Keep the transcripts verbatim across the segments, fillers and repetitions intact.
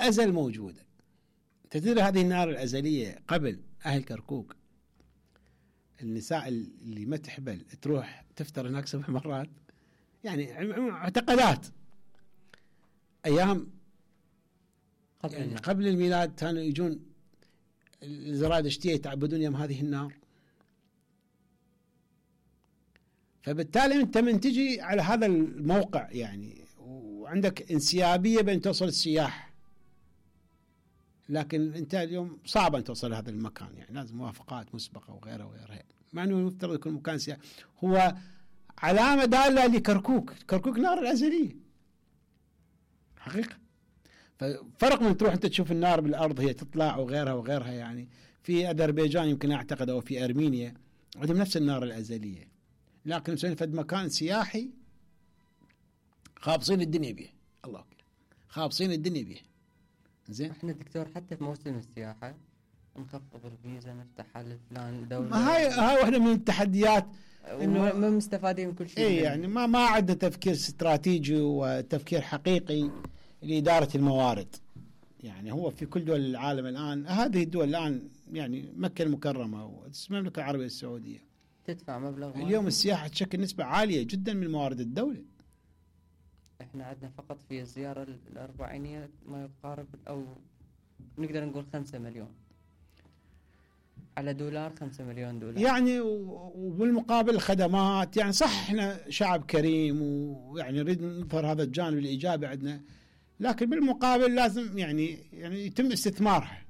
الأزل موجودة. تدري هذه النار الأزلية قبل أهل كركوك النساء اللي ما تحبل تروح تفتر هناك سبع مرات، يعني معتقدات أيام قبل, يعني قبل الميلاد كانوا يجون الزرادشتية يتعبدون يوم هذه النار. فبالتالي أنت من تجي على هذا الموقع يعني وعندك انسيابية بين توصل السياح، لكن أنت اليوم صعب أن توصل لهذا المكان، يعني لازم موافقات مسبقة وغيرها وغيرها، مع أنه المفترض يكون مكان سياحي. هو علامة دالة لكركوك، كركوك نار الأزلية حقيقة. ففرق من تروح أنت تشوف النار بالأرض هي تطلع وغيرها وغيرها، يعني في أذربيجان يمكن أعتقد أو في أرمينيا عندهم نفس النار الأزلية، لكن مسوين فد مكان سياحي خابصين الدنيا به، الله أكبر خابصين الدنيا به. زين احنا دكتور حتى في موسم السياحة نخفض الفيزا نفتح على فلان دولة، هاي هاي واحدة من التحديات انه ما مستفادين من كل شيء. اي يعني ما ما عندنا تفكير استراتيجي وتفكير حقيقي لإدارة الموارد. يعني هو في كل دول العالم الآن، هذه الدول الآن يعني مكة المكرمة والمملكة العربية السعودية تدفع مبلغ اليوم السياحة تشكل نسبة عالية جدا من موارد الدولة. احنا عندنا فقط في الزيارة الأربعينية ما يقارب أو نقدر نقول خمسة مليون على دولار، خمسة مليون دولار يعني. وبالمقابل الخدمات، يعني صح احنا شعب كريم ويعني نريد نظهر هذا الجانب الإيجابي عندنا، لكن بالمقابل لازم يعني يعني يتم استثمارها.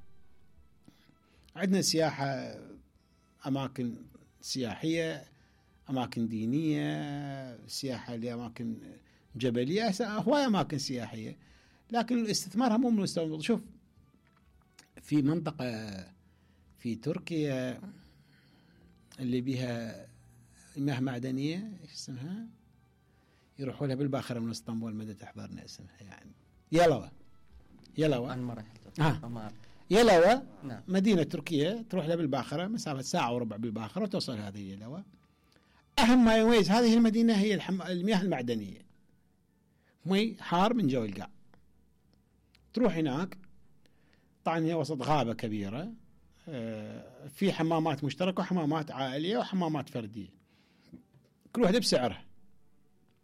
عندنا سياحة، أماكن سياحية، أماكن دينية، سياحة لأماكن جبلية، هواية أماكن سياحية، لكن استثمارها مو من مستوى. شوف في منطقة في تركيا اللي بها مياه معدنية، ايش اسمها؟ يروحوا لها بالباخرة من اسطنبول، مدى تحضرنا اسمها يعني يلوى. يلوى أنا ما رحت. آه. يلوى نعم. مدينة تركية تروح لها بالباخرة مسافة ساعة وربع بالباخرة وتوصل هذه يلوى. أهم ما يميز هذه المدينة هي الحم... المياه المعدنية، مي حار من جو القاع. تروح هناك طبعا هي وسط غابة كبيرة، في حمامات مشتركة وحمامات عائلية وحمامات فردية، كل واحدة بسعرها.